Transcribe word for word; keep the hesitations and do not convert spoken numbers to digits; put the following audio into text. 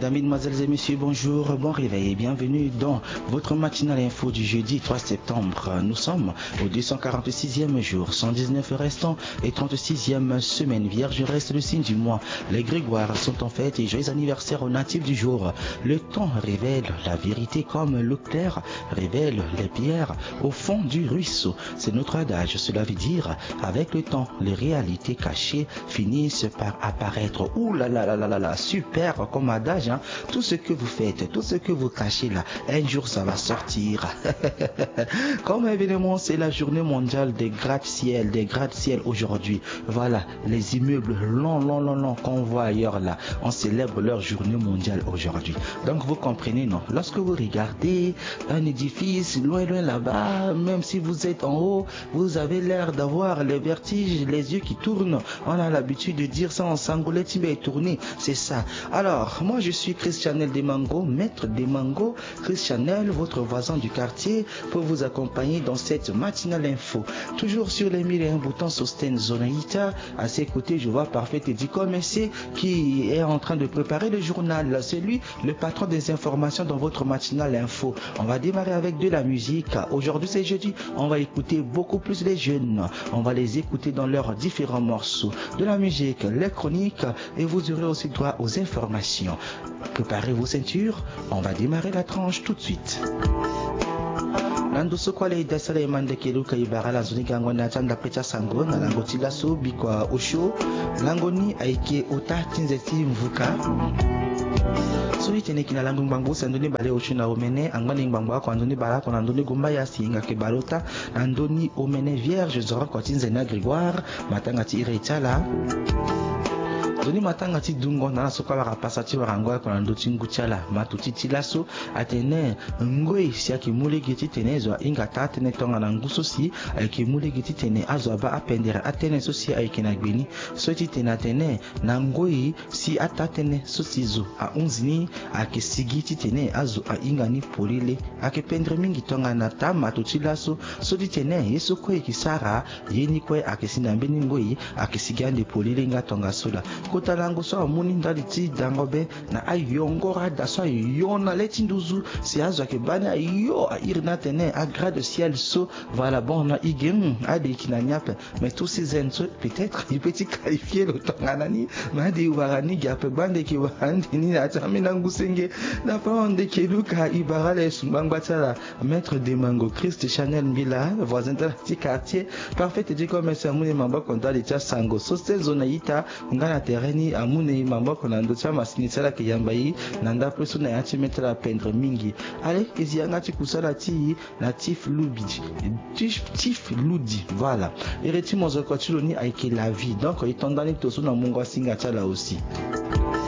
Mesdames, mesdemoiselles et messieurs, bonjour, bon réveil et bienvenue dans votre matinale info du jeudi trois septembre. Nous sommes au deux cent quarante-sixième jour, cent dix-neuf restant et trente-sixième semaine vierge reste le signe du mois. Les Grégoires sont en fête et joyeux anniversaire aux natifs du jour. Le temps révèle la vérité comme l'éclair révèle les pierres au fond du ruisseau. C'est notre adage, cela veut dire, avec le temps, les réalités cachées finissent par apparaître. Ouh là là là là là là, super comme adage, hein. Tout ce que vous faites, tout ce que vous cachez là, un jour ça va sortir. Comme événement, c'est la journée mondiale des gratte-ciel, des gratte-ciel aujourd'hui. Voilà, les immeubles longs, longs, longs, longs qu'on voit ailleurs là, on célèbre leur journée mondiale aujourd'hui. Donc vous comprenez, non ? Lorsque vous regardez un édifice loin, loin là-bas, même si vous êtes en haut, vous avez l'air d'avoir les vertiges, les yeux qui tournent. On a l'habitude de dire ça en sangolais, timbe est tourné. C'est ça. Alors, moi je suis Christianel Demango, maître Demango, Christianel, votre voisin du quartier, pour vous accompagner dans cette matinale info. Toujours sur les mille et un boutons Sosten Zonaïta. À ses côtés, je vois Parfait Teddy Komessé qui est en train de préparer le journal. C'est lui le patron des informations dans votre matinale info. On va démarrer avec de la musique. Aujourd'hui, c'est jeudi. On va écouter beaucoup plus les jeunes. On va les écouter dans leurs différents morceaux. De la musique, les chroniques et vous aurez aussi droit aux informations. Préparez vos ceintures. On va démarrer la tranche tout de suite. Na ndo so kue ala e da ti ala e ma ndeke Luka e bara ala nzoni gango na ya ti andapre ti asango na lango ti laso bikua osio. Lango ni ayeke ota ti nze ti mvuka. So e tene yeke na lango ngbangbo use na ndoni bale osio na omene, angbani ngbangbo oko na ndoni baleoko na ndoni gumbaya si hinga yeke baleota na ndoni omene vierge zoroko ti nze na Grégoire. Matanga ti iri ti ala. Nzoni matanga ti dungo na ala so kue awara pasa ti warango oko na ndö ti ngu ti ala. Matoti ti laso atene ngoi si ayeke mu lege titene zo ahinga taa-tënë tongana ngu so si ayeke mu lege titene azo abaa apendere atënë so si ayeke na gbe ni. So titene atene na ngoi si ataa-tënë so si zo ahunzi ni ayeke sigi titene azo ahinga ni polele. Ayeke pendere mingi tongana taa mato ti laso so titene ye so kue e yeke sara ye ni kue ayeke si na mbeni ngoi ayeke sigi ande polele nga tongaso laa. Kota lango so amu ni ndali ti dango be na ayongoro ada so ayo na le ti nduzu si azo ayeke baa ni ayo airi ni atene agrade ciel so. Voilà, bon, na e ge, hmm, ade e yeke na ni ape. Mais tous ces jeunes so, peut-être e peut ti qualifier lo tongana ni. Mais ade e wara ni ge ape, gbande e yeke wara ande ni na ya ti ambeni angu senge. Dafa ande e yeke Luka e bara ala e su ngbangba ti ala. Maître Demango, Christianel Mbila, voisin ti ala ti quartier. Parfait Teddy Komessé amu na e maboko ndali ti asango. Sosten Zonaïta nga na tere ni amu na e maboko na ndö ti amasini ti ala ayeke yamba e na ndapre so na ya ti mê ti ala apendre mingi. Allez, e zi yanga ti kusala ti e na Tif Lubidi. Tif, Tif Ludi, voilà. Iri ti mozoko ti lo ni ayeke la vie. Donc e to nda ni to so na mungo asinga ti ala aussi.